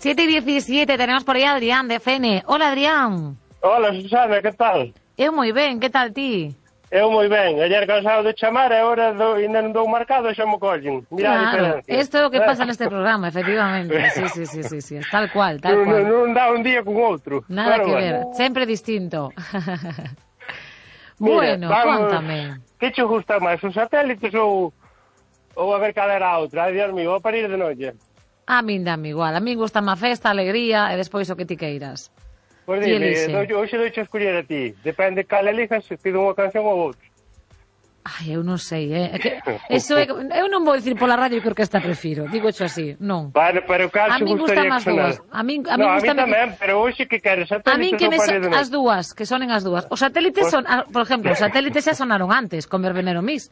7:17, tenemos por aí a Adrián de Fene. Hola, Adrián. Hola, Susana, que tal? Eu moi ben, que tal ti? Eu moi ben. Ayer cansado de chamar, e agora ainda non dou marcado e xa me collen. Mira a Claro, diferencia. isto é o que pasa neste programa, efectivamente. Sí. Tal cual, tal cual. Non dá un día con outro. Nada Pero que bueno. ver, sempre distinto. Mira, Bueno, vamos, cuéntame. Que che gusta máis, os satélites ou a ver cal era a outra? Ai, Dios mío, vou parir de noite. A min dame igual, a min gusta má festa, alegría e despois o que ti queiras. Pois Ti dime, elixe. hoxe doiche a escoller a ti. Depende cal elijas, se pido unha canción ou outra. Ai, eu non sei, é que eso é, eu non vou dicir pola radio que orquesta prefiro, digo xo así, non. Bueno, pero cal A se min gustan gustaría as que sonar? dúas. A min No, a mí gustame tamén, pero hoxe que queres, A satélites min que ou me parir de noite? as dúas, que sonen as dúas. Os satélites son, por exemplo, os satélites xa sonaron antes, con Verbenero Mix.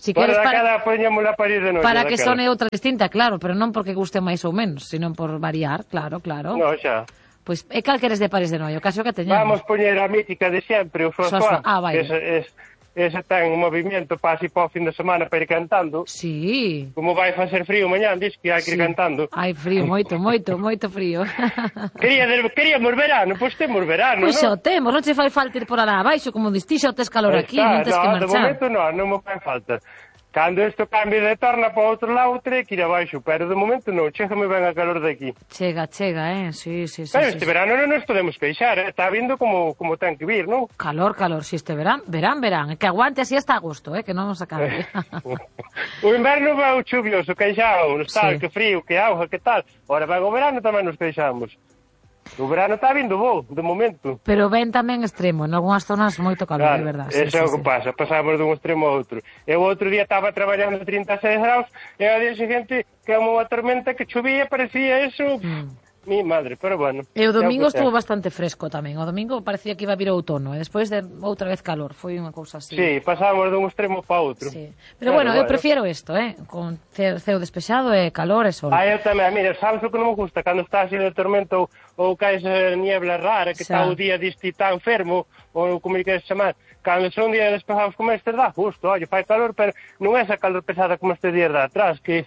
Si Bueno, queres daquela poñamos a parir de noite. para que daquela. sone outra distinta, claro, pero non porque guste máis ou menos, sino por variar, claro. No, xa. Pois é cal queres de Paris de Noio, o caso que teñamos. Vamos poñer a mítica de sempre, o Suá. Suá. Ah, vai. Ese ten un movimento para así para o fin de semana para ir cantando. Sí. Como vai facer frío mañán, dis que hai que ir cantando. Hai frío, moito frío. Queríamos verano, pois temos verano, Pois non? xa o temos, non che fai falta ir por alá abaixo, como distixo, tes calor aquí, non tes que De marchar. momento non me fai falta. Cando isto cambie de torna para outro lado, terei que ir abaixo, pero de momento non, chégame ben a calor de aquí. Chega, sí. Pero este verano non nos podemos queixar, está vindo como ten que vir, non? Calor, si este verán, é que aguante así hasta agosto, que non nos acabe. O inverno vai o chuvioso, queixamos, tal, que frío, que auga, que tal. Ora, vai o verano tamén nos queixamos. O verano está vindo bo, de momento. Pero ven tamén extremo, en algunhas zonas moito calor, Claro, é verdade. eso é o que pasa, pasamos dun extremo a outro. Eu outro día estaba traballando a 36 graus e ao día seguinte que unha tormenta que chovía, parecía eso... Mi madre, pero bueno. E o domingo estuvo bastante fresco tamén. O domingo parecía que iba a vir outono e despois de outra vez calor. Foi unha cousa así. Sí, pasamos dun extremo para outro. Sí. Pero bueno, eu prefiero isto, con ceo despexado e calor e sol. Eu tamén, mira, sabes o que non me gusta? Cando está así de tormento ou caes niebla rara, que está o día diste tan fermo, ou como lle queres chamar. Cando son días despejados como este, dá justo, oye, fai calor, pero non é esa calor pesada como este día de atrás, que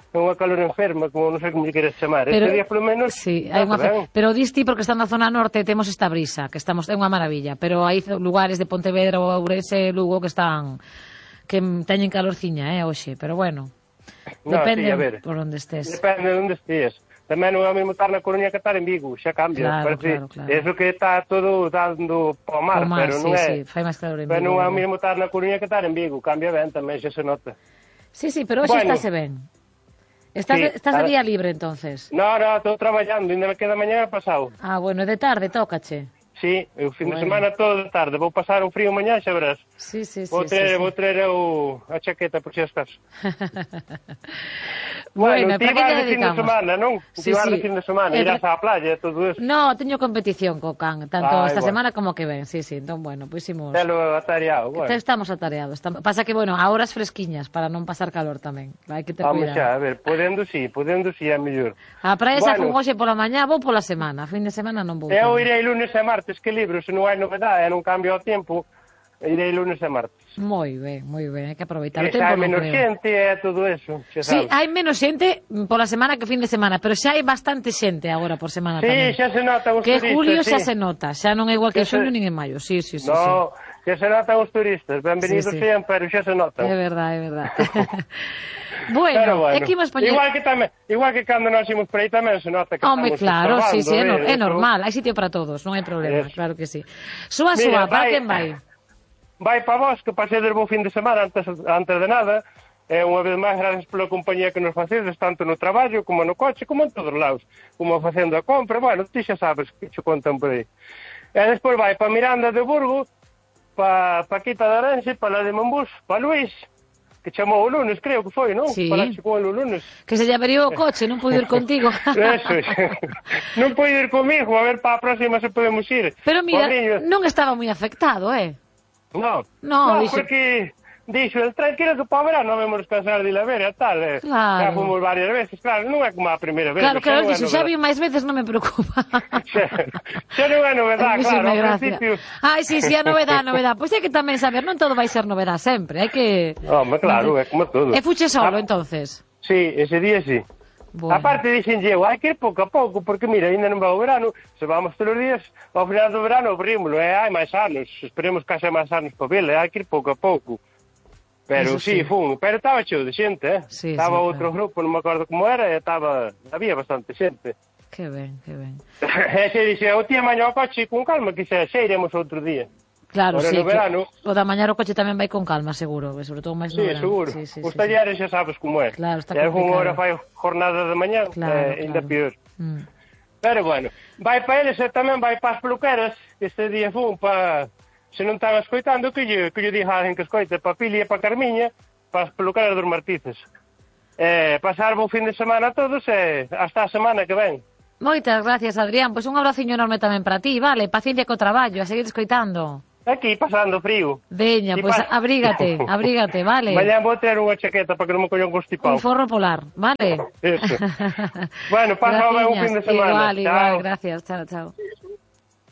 é unha calor enferma, como non sei como lle queres chamar. Pero, este día, polo menos, sí, hai pero disti porque está na zona norte temos esta brisa, que estamos é unha maravilla, pero hai lugares de Pontevedra ou Ourense, Lugo que teñen calorciña, hoxe, pero bueno. Depende por onde estés. Depende de onde estés. Tamén non é o mesmo estar na Coruña que estar en Vigo, xa cambia. Claro. Eso que está todo dando para o mar, pero non é. Sí, fai máis calor en Vigo. Pero non é o mesmo estar na Coruña que estar en Vigo, cambia ben tamén, xa se nota. Sí, pero hoxe estáse ben. Estás de día libre, entonces? No, estou traballando, ainda me queda mañá pasado. Ah, bueno, de tarde, tócache. Sí, o fin de semana todo de tarde. Vou pasar un frío mañá, xa verás. Sí. Vou traer a chaqueta por si as casas. Bueno, ti vas de fin de semana, non? Ti vas de fin de semana, irás á playa e todo eso. No, teño competición co can, tanto esta semana como que ven. Sí, entón, bueno, pois imos... Telo atareado, bueno. Estamos atareados. Pasa que, bueno, a horas fresquiñas, para non pasar calor tamén. Hai que ter cuidado. Xa, a ver, podendo sí, é mellor. A praia xa fun hoxe pola mañá, vou pola semana. A fin de semana non vou. Eu irei lunes e martes, que libro, se non hai novedade, non cambia o tempo, irei lunes e martes. Moi ben, hai que aproveitar o tempo. Xa hai menos xente e todo eso, xa sabes. Sí, hai menos xente pola semana que fin de semana, pero xa hai bastante xente agora por semana tamén. Sí, xa se nota os turistas. Que julio xa se nota, xa non é igual que xuño nin en maio, sí. No, que se notan os turistas, benvenidos sean, pero xa se notan. É verdade. Bueno, é que imos poñer... Igual que cando nos imos por aí tamén se nota que estamos claro, sí, é normal, hai sitio para todos, non hai problema, claro que sí. Súa, para quen vai? Vai para vos, que pasedes bo fin de semana antes de nada, e unha vez máis gracias pola compañía que nos facedes, tanto no traballo, como no coche, como en todos lados, como facendo a compra, bueno, ti xa sabes que che contan por aí. E despois vai para Miranda de Burgo, para Quita de Arense, para la de Monbús, para Luís, que chamou o lunes, creo que foi, non? Sí. Para con o lunes. Que se lle averiou o coche, non puido ir contigo. Eso, non puido ir comigo, a ver para a próxima se podemos ir. Pero mira, non estaba moi afectado, No, dixo... porque dixo, tranquilo que para o verano non vamos descansar de la vera, tal. Claro. Já fomos varias veces, claro, non é como a primeira vez. Claro, dixo, xa vi máis veces, non me preocupa. Xa non é novedade, claro, ao principio. Ai, sí, a novedade. Pois hai que tamén saber, non todo vai ser novedade sempre, hai que... Home, claro, é como todo. E fuche solo, entonces? Sí, ese día sí. Bueno. Aparte dixen eu, hai que ir pouco a pouco, porque mira, ainda non va o verano, se vamos todos os días, ao final do verano abrímoslo, hai máis anos, esperemos que haxa máis anos para vela, hai que ir pouco a pouco. Pero sí, pero estaba cheo de xente, Sí, estaba sí, outro claro. grupo, non me acordo como era, e había bastante xente. Que ben, que ben. E se dixe, o tía mañá o coche con calma, que xa iremos outro día. Claro, Ahora sí, no verano, o da mañá o coche tamén vai con calma, seguro, sobre todo máis no sí, verano. seguro. Sí, sí, Os sí, talleres xa sabes como é. Claro, está E algún complicado. hora fai jornada de mañá, Claro, ainda claro. pior. Pero bueno, vai para eles e tamén vai para as peluqueras, que este día fun para, se non están escoitando, que lle diga a alguén que escoite, para Pili e para Carmiña, para as peluqueras dos Martices. Pasar bo fin de semana a todos e hasta a semana que ven. Moitas gracias, Adrián. Pois un abraciño enorme tamén para ti, vale? Paciencia co traballo, a seguir escoitando. Aquí pasando frío. Veña, pois abrígate, vale? Mañá vou ter unha chaqueta para que non me colla un constipado. Un forro polar, vale? Eso. Bueno, pasa un fin de semana. Igual, gracias. Chao, chao.